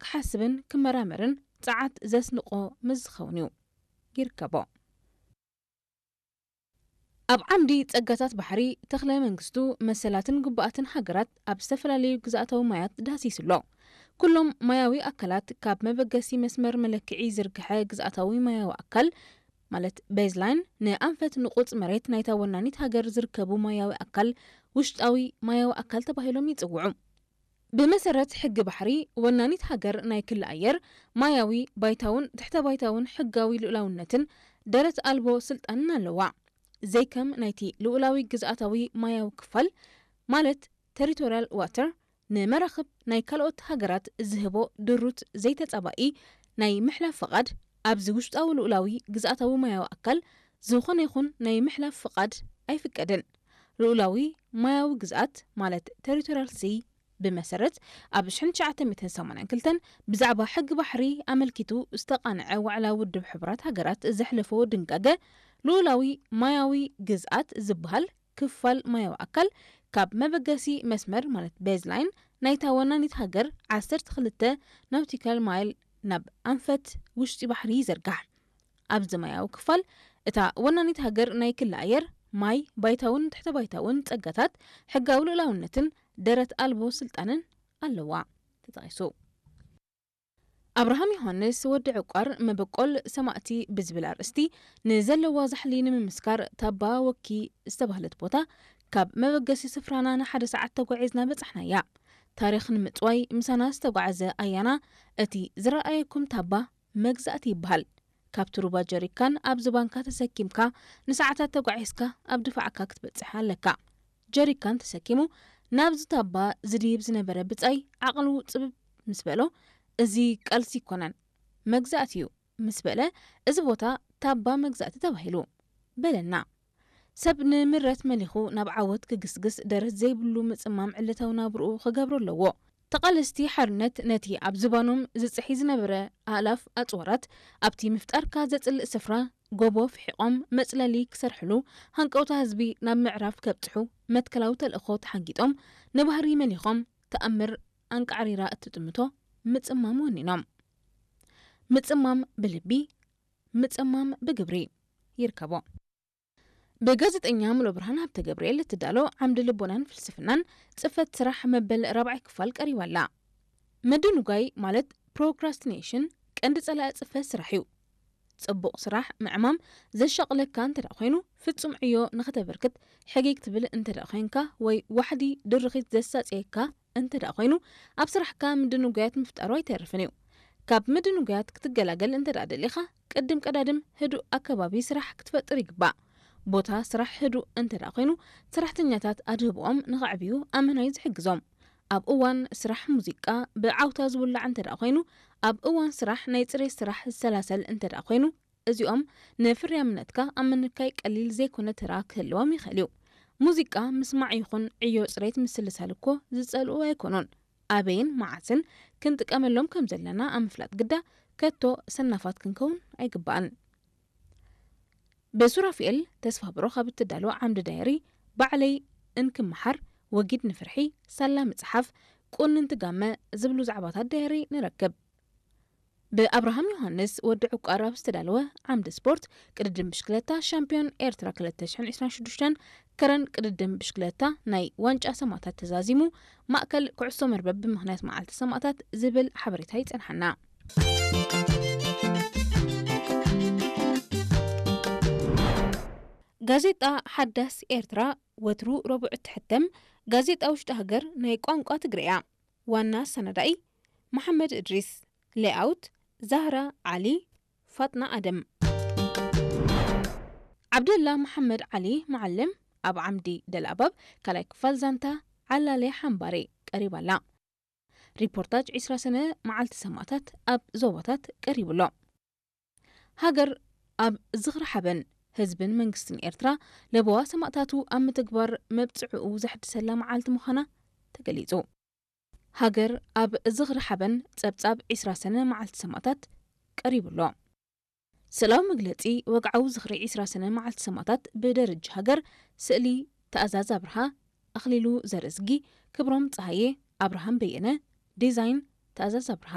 ክሓስብን ክመራመርን ጸዓት ዘስንቆ ምስ ዝኸውን እዩ። ይርከቦ። ኣብ ዓምዲ ጸጋታት ባሕሪ፣ ተኽለ መንግስቱ መሰላትን ግቡኣትን ሃገራት ኣብ ዝተፈላለዩ ግዝኣታዊ ማያት ዳህሲሱ ኣሎ። ኩሎም ማያዊ ኣካላት፣ ካብ መበገሲ መስመር መለክዒ ዝርግሐ ግዝኣታዊ ማያዊ ኣካል፣ ማለት ቤዝላይን፣ ንኣንፈት ንቑጽ መሬት ናይታ ወናኒት ሃገር ዝርከቡ ማያዊ ኣካል፣ ውሽጣዊ ማያዊ ኣካል ተባሂሎም ይጽውዑ። ብመሰረት ሕጊ ባሕሪ፣ ወናኒት ሃገር ናይ ክሊ ኣየር፣ ማያዊ፣ ባይታውን ትሕተ ባይታውን ሕጋዊ ልኡላውነትን ደረት ኣልቦ ስልጣንን ኣለዋ። ዘይከም ናይቲ ልኡላዊ ግዝኣታዊ ማያዊ ክፋል፣ ማለት ቴሪቶሪያል ዋተር፣ ንመራኽብ ናይ ካልኦት ሃገራት ዝህቦ ድሩት ዘይተጻባኢ ናይ ምሕላፍ ፍቓድ፣ ኣብዚ ውሽጣዊ ልኡላዊ ግዝኣታዊ ማያዊ ኣካል ዝኾነ ይኹን ናይ ምሕላፍ ፍቓድ ኣይፍቀድን። ልኡላዊ ማያዊ ግዝኣት፣ ማለት ቴሪቶሪያል ሲ፣ ብመሰረት ኣብ ሽሕን ትሽዓተ ሚእትን ሰማንያን ክልተን ብዛዕባ ሕጊ ባሕሪ ኣመልኪቱ ዝተቓንዐ ዋዕላ ውድብ ሕቡራት ሃገራት ዘሕለፎ ድንጋገ፣ ልኡላዊ ማያዊ ግዝኣት ዝበሃል ክፋል ማያዊ ኣካል ካብ መበገሲ መስመር፣ ማለት ቤዝላይን፣ ናይታ ወናኒት ሃገር ዓሰርተ ክልተ ናውቲካል ማይል ናብ ኣንፈት ውሽጢ ባሕሪ ይዝርጋሕ። ኣብዚ ማያዊ ክፋል፣ እታ ወናኒት ሃገር ናይ ክሊ ኣየር፣ ማይ፣ ባይታውን ትሕተ ባይታውን ጸጋታት፣ ሕጋዊ ልኡላውነትን ደረት ኣልቦ ስልጣንን ኣለዋ። ተጠቒሱ። ኣብርሃም ዮሃንስ ወዲ ዕቋር፣ መበቆል ሰማእቲ ብዝብል ኣርእስቲ ንዘለዋ ዛሕሊ ንምምስካር፣ ታባ ወኪ ዝተባህለት ቦታ ካብ መበገሲ ስፍራና ንሓደ ሰዓት ተጓዒዝና በጻሕናያ። ታሪኽ ንምጽዋይ ምሳና ዝተጓዓዘ ኣያና፣ እቲ ዝረኣየኩም ታባ መግዛእቲ ይበሃል። ካብቲ ሩባ ጀሪካን ኣብ ዝባንካ ተሰኪምካ ንሰዓታት ተጓዒዝካ ኣብ ድፋዕካ ክትበጽሕ ኣለካ። ጀሪካን ተሰኪሙ ናብዚ ታባ ዝድይብ ዝነበረ ብጻይ ዓቕሉ ጽብብ ምስ በሎ፣ "እዚ ቃልሲ ኣይኮነን፣ መግዛእቲ እዩ" ምስ በለ፣ "እዚ ቦታ ታባ መግዛእቲ ተባሂሉ" በለና። ሰብ ንምረት መሊኹ ናብ ዓወት ክግስግስ ደረት ዘይብሉ ምጽማም ዕለታዊ ናብርኡ ክገብሮ ኣለዎ። ተቓለስቲ ሓርነት ነቲ ኣብ ዝባኖም ዝጽሒ ዝነበረ ኣእላፍ ኣጽዋራት ኣብቲ ምፍጣርካ ዘጽልእ ስፍራ ጎቦ ፍሒቖም መጽለሊ ክሰርሕሉ፣ ሃንቀውታ ህዝቢ ናብ ምዕራፍ ከብጽሑ መትከላዊ ተልእኾ ተሓንጊጦም፣ ንባህሪ መሊኾም፣ ተኣምር ኣንቃዕሪራ እትጥምቶ ምጽማም ወኒኖም። ምጽማም ብልቢ፣ ምጽማም ብግብሪ ይርከቦ። ብጋዜጠኛ ሙሉብርሃን ሃብተገብርኤል እትዳሎ ዓምዲ ልቦናን ፍልስፍናን ጽፈት ስራሕ መበል ራብዓይ ክፋል ቀሪባ ኣላ። ምድንጓይ ማለት ፕሮክራስቲኔሽን ቀንዲ ጸላኢ ጽፈት ስራሕ እዩ። ጽቡቕ ስራሕ ምዕማም ዘሻቕለካ እንተ ደኣ ኮይኑ፣ ፍጹም ዕዮ ንኸተበርክት ሕጊግ ትብል እንተ ደኣ ኮይንካ፣ ወይ ዋሕዲ ድርኺት ዘሳጽየካ እንተ ደኣ ኮይኑ፣ ኣብ ስራሕካ ምድንጓያት ምፍጣሩ ኣይተርፍን እዩ። ካብ ምድንጓያት ክትገላገል እንተ ደኣ ደሊኻ፣ ቅድም ቀዳድም ህዱእ ኣከባቢ ስራሕ ክትፈጥር ይግባእ። ቦታ ስራሕ ህዱእ እንተ ደኣ ኮይኑ፣ ሰራሕተኛታት ኣድህቦኦም ንኸዕብዩ ኣመና እዩ ዝሕግዞም። ኣብ እዋን ስራሕ ሙዚቃ ብዓውታ ዝውላዕ እንተ ደኣ ኮይኑ፣ ኣብ እዋን ስራሕ ናይ ጽሬት ስራሕ ዝሰላሰል እንተ ደኣ ኮይኑ፣ እዚኦም ንፍርያምነትካ ኣብ ምንካይ ቀሊል ዘይኮነ ተራ ክህልዎም ይኽእል እዩ። ሙዚቃ ምስማዕ ይኹን ዕዮ ጽሬት ምስልሳል እኮ ዝጸልኡ ኣይኮኑን። ኣበይን መዓስን ክንጥቀመሎም ከም ዘለና ኣብ ምፍላጥ ግዳ ከቶ ሰናፋት ክንከውን ኣይግባእን። ብሱራፊኤል ተስፋ ብሩኽ ኣብ እትዳሎ ዓምዲ ዳየሪ፣ ባዕለይ እንክመሓር፣ ወጊድ ንፍርሒ፣ ሳላ ምጽሓፍ፣ ቁንንቲ ጋመ ዝብሉ ዛዕባታት ዳየሪ ንረክብ። ብኣብርሃም ዮሃንስ ወዲ ዕቋር ኣብ ዝተዳለወ ዓምዲ ስፖርት፣ ቅድድም ብሽክለታ ሻምፒዮን ኤርትራ ክልተ ሽሕን ዕስራን ሽዱሽተን፣ ከረን ቅድድም ብሽክለታ ናይ ዋንጫ ሰማእታት ተዛዚሙ፣ ማእከል ኩዕሶ መርበብ ብምኽንያት መዓልቲ ሰማእታት ዝብል ሓበሬታ ይጸንሓና። ጋዜጣ ሓዳስ ኤርትራ ወትሩ ረቡዕ እትሕተም ጋዜጣ ውሽጢ ሃገር ናይ ቋንቋ ትግርያ። ዋና ኣሰናዳኢ መሓመድ እድሪስ። ሌኣውት ዛህራ ዓሊ፣ ፋጥና ኣደም። ዓብደላ መሓመድ ዓሊ መዓልም ኣብ ዓምዲ ደልኣባብ ካልኣይ ክፋል ዛንታ ዓላለ ሓምባሬ ቀሪባ ኣላ። ሪፖርታጅ ዕስራ ሰነ መዓልቲ ሰማእታት ኣብ ዞባታት ቀሪቡ ኣሎ። ሃገር ኣብ ዝኽሪ ሓበን ህዝብን መንግስትን ኤርትራ ለበዋ ሰማእታቱ ኣብ ምትግባር መብጽዕኡ ዘሕድሰላ መዓልቲ ምዃና ተገሊጹ። ሃገር ኣብ ዝኽሪ ሓበን ጸብጻብ ዕስራ ሰነ መዓልቲ ሰማእታት ቀሪቡ ኣሎ። ስእላዊ መግለጺ ወግዓዊ ዝኽሪ ዕስራ ሰነ መዓልቲ ሰማእታት ብደረጃ ሃገር፣ ስእሊ ትእዛዝ ኣብርሃ፣ ኣኽሊሉ ዘርእዝጊ፣ ክብሮም ጸሃየ፣ ኣብርሃም በየነ፣ ዲዛይን ትእዛዝ ኣብርሃ።